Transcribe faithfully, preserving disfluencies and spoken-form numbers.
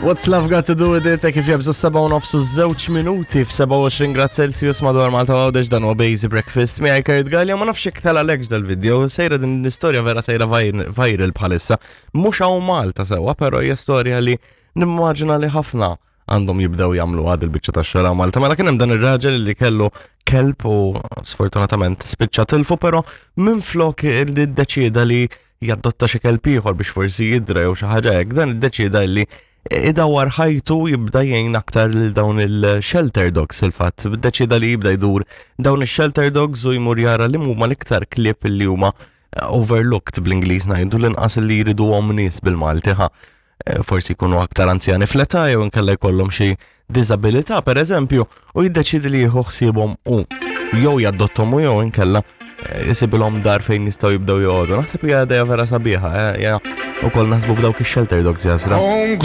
What's love got to do with it? Kif jabżu seba' u nofsu żewġ minuti f'sebgħa u għoxrin grad Celsius madwar Malta Għawdex, dan huwa Bazy Breakfast miegħi Kurt Gallia. Ma nafx jekk telgħalekx dal-video, sejra din l-istorja, vera sejra viral bħalissa. Mhux hawn Malta sewwa, però hija storja li nimmaġina li ħafna għandhom jibdew jagħmlu għad il-biċċa tax-xogħol Malta. Mela kien hemm dan ir-raġel li kellu kelb u sfortunatament spiċċa tilfu, però minflok li ddeċieda li jaddotta xi kelb ieħor biex forsi jidra jew xi ħaġa hekk, dan iddeċieda li idawar ħajtu, jibda jgħin aktar lil dawn il-shelter dogs. Il-fatt, deċida li jibda jdur dawn il-shelter dogs u jmur jara li huma l-iktar klieb li huma overlooked, bl-Ingliż ngħidu l-inqas li jridu nies bil-Malti ħa. Eh, forsi jkunu aktar anzjani fl-età jew inkella jkollhom xi diżabilità, pereżempju, u jiddeċidi li jieħu ħsiebhom u jew jaddottom u jew inkella jisibilhom dar fejn jistgħu jibdew joqogħdu. Naħseb hija idea vera sabiħa, eh, ja, ukoll naħsbu f'dawk ix-shelter dogs jasra.